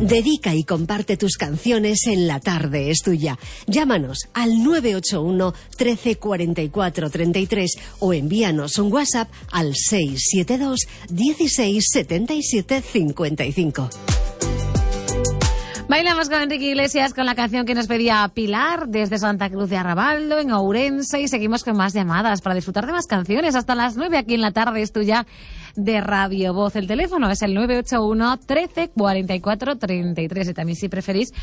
Dedica y comparte tus canciones en La Tarde es Tuya. Llámanos al 981 13 44 33 o envíanos un WhatsApp al 672 16 77 55. Bailamos con Enrique Iglesias con la canción que nos pedía Pilar desde Santa Cruz de Arrabaldo, en Ourense, y seguimos con más llamadas para disfrutar de más canciones hasta las 9 aquí en La Tarde es Tuya de Radio Voz. El teléfono es el 981 13 44 33 y también, si preferís,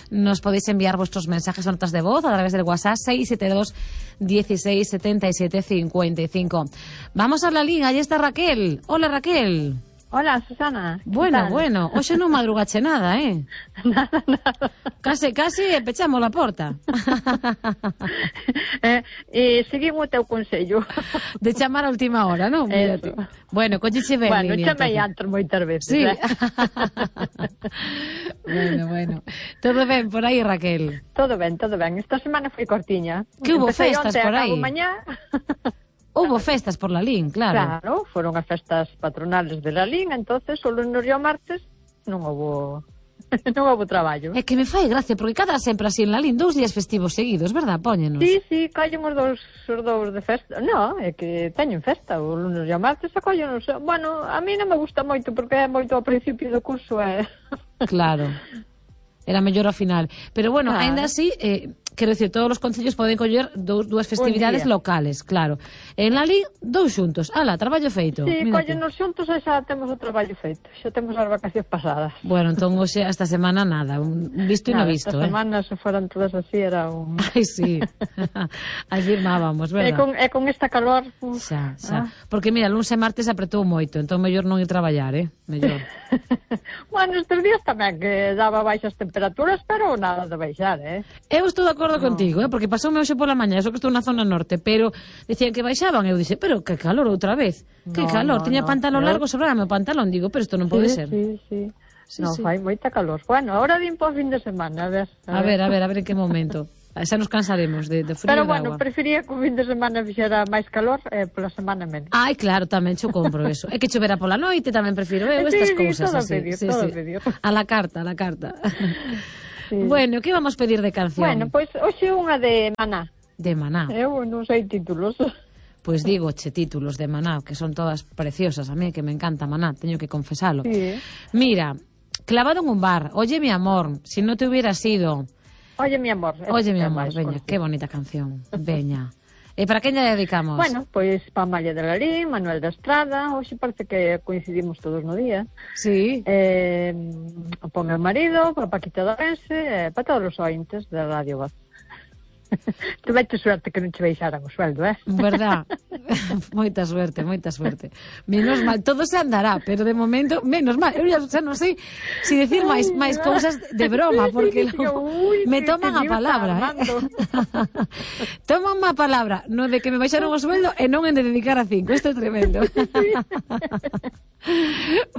nos podéis enviar vuestros mensajes o notas de voz a través del WhatsApp 672 16 77 55. Vamos a la liga, ahí está Raquel. Hola, Raquel. Hola, Susana. Bueno, hoxe non madrugache nada, Nada. Case pechamos a porta. Seguimos o teu consello. De chamar a última hora, non? Bueno, colliche ben. Bueno, chamei antes moitas veces. Sí. Bueno. Todo ben por aí, Raquel? Todo ben. Esta semana foi cortiña. Que hubo festas por aí? Mañá. Hubo festas por Lalín, claro. Claro, foron as festas patronales de Lalín, entonces o lunes e o martes non houbo traballo. É que me fai gracia, porque cada sempre así en Lalín 2 días festivos seguidos, verdad? Póñenos. Sí, collen os dous de festa. No, é que teñen festa o lunes e o martes, a collen os... Bueno, a mí non me gusta moito, porque é moito ao principio do curso, Claro. Era mellor ao final. Pero bueno, ainda así... Quero dicir, todos os concellos poden coller dúas festividades locales, claro. En Lalín, 2 xuntos. Ala, traballo feito. Sí, collenos xuntos e xa temos o traballo feito. Xa temos as vacacións pasadas. Bueno, entón hoxe, esta semana, nada. Visto e non visto, Esta semana, se foran todas así, era un... Ai, sí. Aí firmábamos, verdad? E con esta calor... Xa. Porque, mira, lunes e martes apretou moito, entón mellor non ir traballar, mellor. Bueno, estes días tamén, que daba baixas temperaturas, pero nada de baixar, Eu estou de acordo contigo, porque pasoume hoxe pola mañá, eso que estou na zona norte, pero decían que baixaban, eu dixe, pero que calor outra vez, que calor, tiña pantalón largo, sobraba o pantalón, digo, pero isto non pode ser. Sí. Non, fai moita calor. Bueno, ahora din por fin de semana, a ver en que momento. Xa nos cansaremos de frío pero e de bueno, agua. Prefería que o fin de semana fixera máis calor, pola semana menos. Ai, claro, tamén xo compro eso. É que chovera pola noite, tamén prefiro estas cousas así. Todo medio. A la carta. Sí. Bueno, que vamos pedir de canción? Bueno, pois hoxe unha de Maná. De Maná. Eu non sei títulos. Pois digo, títulos de Maná, que son todas preciosas. A mí que me encanta Maná, teño que confesalo. Sí. Mira, clavado en un bar, oye mi amor, si no te hubieras ido. Oye mi amor. Oye mi amor, veña, qué bonita canción. Veña. E para quen lle dedicamos? Bueno, pois para Amalia de Lalín, Manuel da Estrada, hoxe parece que coincidimos todos no día. Sí. Para o meu marido, para Paquita de Ourense, para todos os ointes da Radio Voz. Tuveite suerte que non che baixaran o sueldo, Verdad? Moita suerte. Menos mal, todo se andará, pero de momento, menos mal. Eu xa non sei se decir máis cousas de broma, porque me toman a palabra, Toman a palabra, non de que me baixaron o sueldo e non en de dedicar a 5. Isto é tremendo.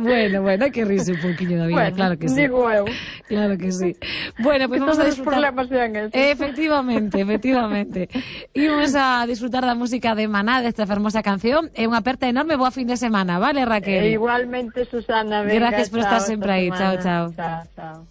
Bueno, hai que rirse un pouquiño da vida, claro que sí. Digo eu. Claro que sí. Bueno, pues vamos a disfrutar. Todos os problemas sean esos. Efectivamente. Imos a disfrutar da música de Maná, desta fermosa canción. É unha aperta enorme, boa fin de semana, vale, Raquel? Igualmente, Susana. Venga, gracias por estar sempre aí. Chao. Chao.